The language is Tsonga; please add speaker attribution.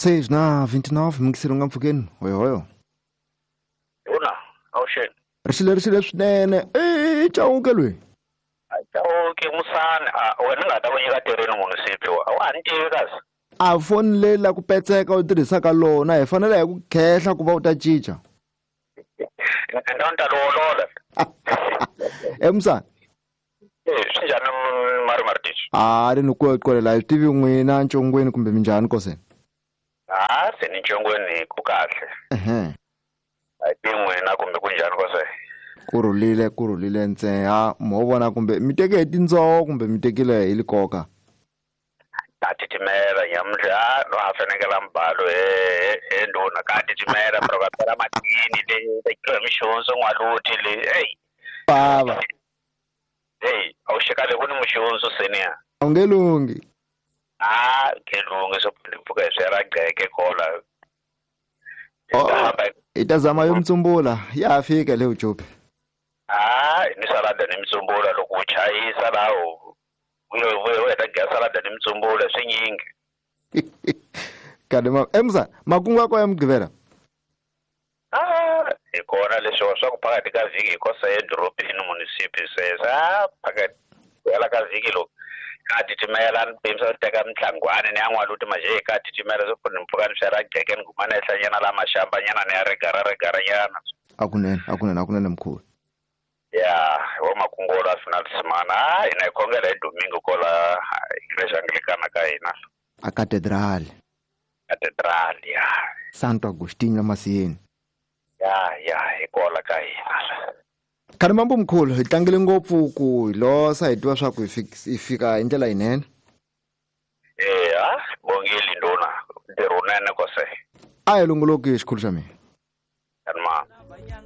Speaker 1: 6 na 29 mingiselo nga mpfhukeni hoyohoyo.
Speaker 2: Una, awuxeni.
Speaker 1: Ri xile swinene. I Chauke loyi.
Speaker 2: Chauke Musani, a wena nga ta ku nyika tirheni munhu sipi wa. A ni tivi kasi.
Speaker 1: A foni leyi la ku petseka u tirhisaka lona hi fanele hi ku khehla ku va u ta cinca.
Speaker 2: Ndzi ta lolola.
Speaker 1: Emusani.
Speaker 2: Swi njhani mari Martins?
Speaker 1: A ri ni ku qolela hi tivi n'wina ncongweni kumbe minjhani koseni?
Speaker 2: A se ni ncongweni ku kahle.
Speaker 1: Ehe.
Speaker 2: A ti n'wina kumbe ku njhani kose?
Speaker 1: Ku rhulile ntsena mo vona kumbe mi teke hi tindzoho kumbe mi tekile hi likoka.
Speaker 2: Ka titimela nyamuntlha no ha fanekela mbalo he ndhuna ka titimela pero ka phela matini le tekiwa hi mixonso n'waluti le ey.
Speaker 1: Bava.
Speaker 2: Hey, a wu xekale ku ni muxonso senior.
Speaker 1: A wu nge lunghi.
Speaker 2: A nge lunghi swo mpfhuka hi swi ra gqeke kola.
Speaker 1: Oh, hi ta zama yo mtsumbula ya ha fika le Ujopi.
Speaker 2: A ni salada ni mtsumbula loko u chayisa laha u heta gya salada ni mtsumbula swinyingi.
Speaker 1: Kade ma emza makungu akho ya Mugqivela.
Speaker 2: Ah, hi kona leswi swa ku phakathi ka vhiki hi kosa edorobeni munisipi sweswo a phakathi ku hela ka vhiki loko ka titimela ni pimisa ku teka mintlangwani ni ya n'waluti maje ka titimela swo ni mpfuka ni swela gqeke ni guma ni ehlanyana la maxambanyana ni ya regara regaranyana.
Speaker 1: Akunene mkhulu.
Speaker 2: Ya hi wa makungu la final semana a hina hi khongela hi domingo kola igreja anglikana ka hina.
Speaker 1: A cathedral.
Speaker 2: Cathedral ya.
Speaker 1: Santo Agostinho la Masiyeni.
Speaker 2: Ya hi kola ka hina.
Speaker 1: Khale mambo mkhulu hi tlangele ngopfu ku hi losa hi tiva swa ku hi fika hi ndlela yinene.
Speaker 2: Eya bongile nduna ntirho wunene kose.
Speaker 1: A hi longoloki xikhulu xa mina.